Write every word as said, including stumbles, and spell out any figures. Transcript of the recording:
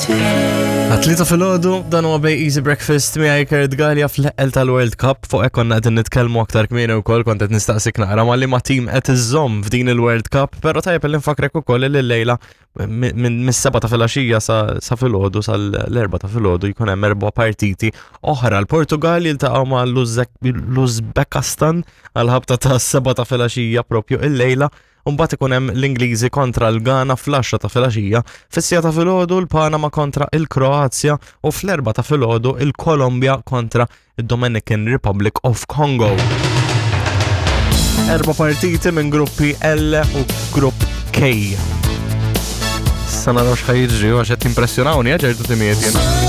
Għat-tlieta filgħodu, dan huwa Bay Easy Breakfast miegħi Kurt Galea fl-eqqel tal-World Cup. Fuq hekk konna qegħdin nitkellmu aktar kmieni wkoll, kont qed nistaqsik naqra ma' liema team qed iżżomm f'din il-World Cup, però tajjeb li nfakrek ukoll li llejla minn mis-seba ta' filgħaxija sa sa filgħodu, sal-erba ta' filgħodu, jkun hemm erba' partiti oħra. L-Portugal jiltaqgħu ma' l-Uzbekistan għal-ħabta ta' seba ta' filgħaxija propju illejla. Mbagħad ikun hemm l-Ingliżi kontra l-Ghana fl-għaxra ta' filgħaxija, fis-siegħa ta' filgħodu l-Panama kontra il-Kroazja u fl-erbgħa ta' filgħodu il-Kolombja kontra il-Dominican Republic of Congo. Erba' partiti minn gruppi L u grupp K. Sa naraw x'ħa jiġri, għax qed impressjonawni ċertu timijiet jien.